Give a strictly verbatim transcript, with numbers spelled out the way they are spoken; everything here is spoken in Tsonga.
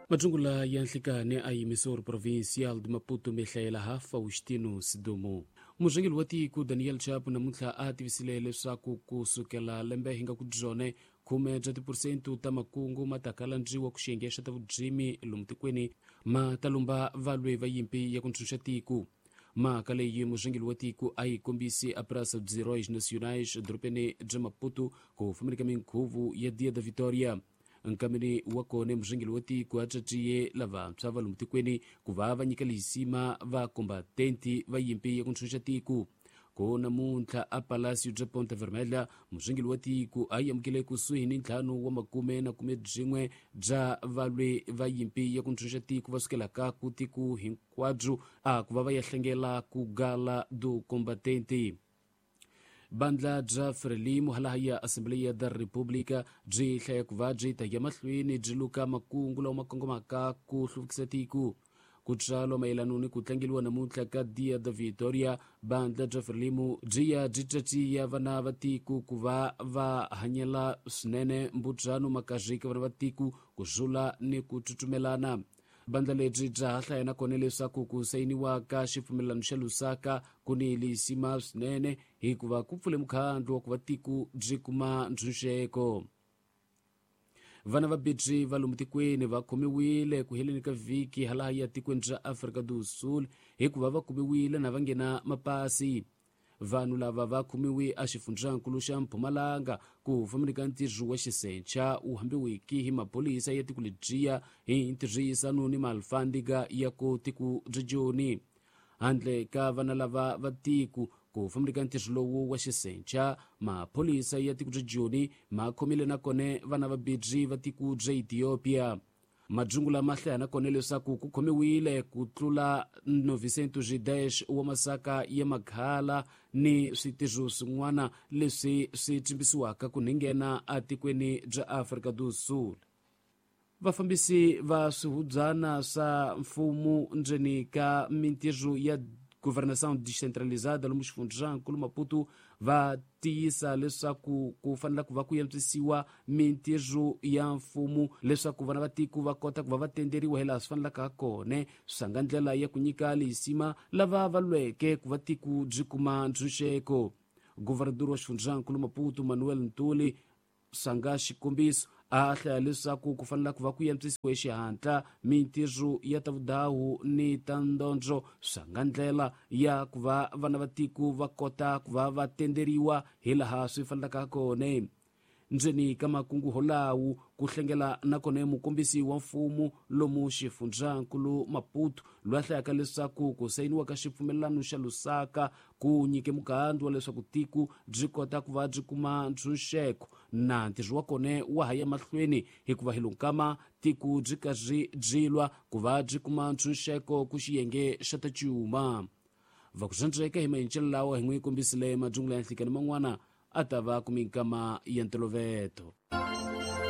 Majungula ya nhlikani a yimisori provincial de Maputo mihlayela ha Faustino Sidumo. Murhangeri wa tiko Daniel Chapo namuntlha a tivisile leswaku ku sukela lembe hi nga ku byone khume bya tiphurosente ta makungu ma ta kalandziwa ku xiyenge xa ta vudzimi lomu tikweni ma ta lumba valwi va yimpi ya ku ntshunxa tiko. Mhaka leyi murhangeri wa tiko a yi kombisi a Praça dos Heróis Nacionais edorobeni bya Maputo ku fambeni ka minkhuvo ya Dia da Vitória. Nkameni wa kona murhangeri wa tiko a caciye lavantshwa va lomu tikweni ku va va nyika lisima va kombatenti va yimpi ya ku ntshunxa tiko. Ko namuntlha a Palácio bya Ponta Vermelha murhangeri wa tiko a yi amukele kusuhi ni ntlhanu wa makume na khume byin'we bya valwi va yimpi ya ku ntshunxa tiko va sukelaka ku tiko hinkwabyo a ku va va ya hlengela ku Gala do Combatente. Bandla bya Frelimo halaha ya Assembleia da República byi hlaya ku va byi ta ya mahlweni byi luka makungu lawa ma kongomaka ku hluvukisa tiko. Ku tswalo mayelana ni ku tlangeriwa namuntlha ka Dia da Vitória, bandla bya Frelimo byi ya byi caciya vana va tiko ku va va hanyela swinene mbudzano makazhi ka vana va tiko ku zula ni ku tsutsumelana. Bandla lebyi bya ha hlaya nakona leswaku ku sayiniwa ka xipfumelelano xa Lusaka ku ni lisima swinene hikuva ku pfule mukhandlu wa ku va tiko byi kuma ntshunxeko. Vana va bidzi va lomu tikweni va khomiwile ku heleni ka vhiki halaha ya tikweni ra Afrika do Sul hikuva va kumiwile na va nghena mapasi. Vanhu lava va khomiwe a xifundzankulu xa Mpumalanga ku fambeni ka ntirho wa xisencha wu hambiwiki hi maphorisa ya tiko lebyiya hi ntirhisano ni malfandiga ya ku tiko bya Joni. Handle ka vana lava va tiko ku fambeni ka ntirho lowu wa xisencha, maphorisa ya tiko bya Joni ma khomile nakona vana va bidzi va tiko bya Ethiopia. Majungula ma hlaya nakona leswaku ku khomiwile ku tlula novecentos e dez wa masaka ya makhala ni switirho swin'wana leswi swi tsimbisiwaka ku nghena etikweni bya Afrika do Sul. Vafambisi va swihubyana swa mfumo ndzeni ka mintirho ya governação descentralizada lomu xifundzankulu Maputo va tiyisa leswaku ku fanele ku va ku antswisiwa mintirho ya mfumo leswaku vana va tiko va kota ku va va tenderiwa hilaha swi fanelaka kona, swi nga ndlela ya ku nyika lisima lava va lweke ku va tiko byi kuma ntshunxeko. Governador wa xifundzankulu Maputo Manuel Ntuli sanga xikombiso a hlaya leswaku ku fanele ku va ku antswisiwa xihatla mintirho ya ta vudawu ni ta ndondzo swa nga ndlela ya ku va vana va tiko va kota ku va va tenderiwa hilaha swi fanelaka kona. Ndzeni ka makungu holawu ku hlengela nakona mukombisi wa mfumo lomu xifundzankulu Maputo loyi a hlayaka leswaku ku sayiniwa ka xipfumelelano xa Lusaka ku nyike mukhandlu wa leswaku tiko byi kota ku va byi kuma ntshunxeko na ntirho wa kona wa ha ya mahlweni hikuva hi lonkama tiko byi karhi byi lwa ku va byi kuma ntshunxeko ku xiyenge xa ta cuma. Va ku swandzeka hi mayincelo lawa hi n'wi kombisile majungula ya nhlikani man'wana a ta va ku minkama ya ntoloveto.